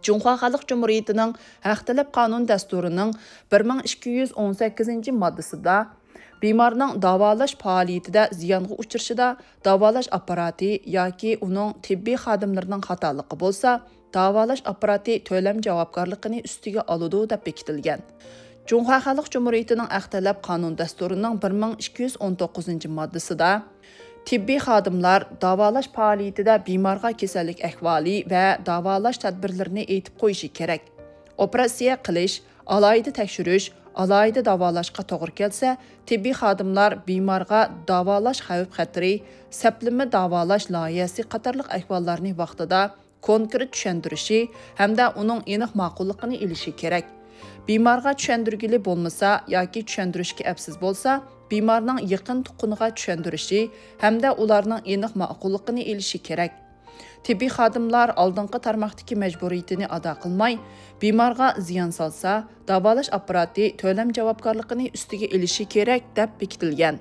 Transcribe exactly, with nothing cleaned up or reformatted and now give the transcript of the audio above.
جۇڭخۇا خەلق جۇمھۇرىيىتىنىڭ ھەق تەلەپ قانۇن دەستۇرىنىڭ بىر مىڭ ئىككى يۈز ئون سەككىزىنچى ماددىسىدا بىمارنىڭ داۋالاش پائالىيىتىدە زىيانغا ئۇچرىشىدا داۋالاش ئاپپاراتى ياكى ئۇنىڭ تېببىي خادىملىرىنىڭ خاتالىقى بولسا، داۋالاش ئاپپاراتى تۆلەم جاۋابكارلىقىنى ئۈستىگە ئالىدۇ، دەپ بېكىتىلگەن. جۇڭخۇا خەلق جۇمھۇرىيىتىنىڭ ھەق تەلەپ قانۇن دەستۇرىنىڭ بىر مىڭ ئىككى يۈز ئون توققۇزىنچى ماددىسىدا، تېببىي خادىملار داۋالاش پائالىيىتىدە بىمارغا كېسەللىك ئەھۋالى ۋە داۋالاش تەدبىرلىرىنى ئېيتىپ قويۇشى كېرەك. ئوپېراتسىيە قىلىش، ئالاھىدە تەكشۈرۈش، ئالاھىدە داۋالاشقا توغرا كەلسە، تېببىي خادىملار بىمارغا داۋالاش خەۋپ-خەتىرى، سەپلىمە داۋالاش لايىھەسى قاتارلىق ئەھۋاللارنى ۋاقتىدا كونكرېت چۈشەندۈرۈشى ھەمدە ئۇنىڭ ئېنىق ماقۇللۇقىنى ئېلىشى كېرەك. بىمارغا چۈشەندۈرگىلى بولمىسا ياكى چۈشەندۈرۈشكە ئەپسىز بولسا، بىمارنىڭ يېقىن تۇغقىنىغا چۈشەندۈرۈشى ھەمدە ئۇلارنىڭ ئېنىق ماقۇللۇقىنى ئېلىشى كېرەك. تېببىي خادىملار ئالدىنقى تارماقتىكى مەجبۇرىيىتىنى ئادا قىلماي، بىمارغا زىيان سالسا، داۋالاش ئاپپاراتى تۆلەم جاۋابكارلىقىنى ئۈستىگە ئېلىشى كېرەك، دەپ بېكىتىلگەن.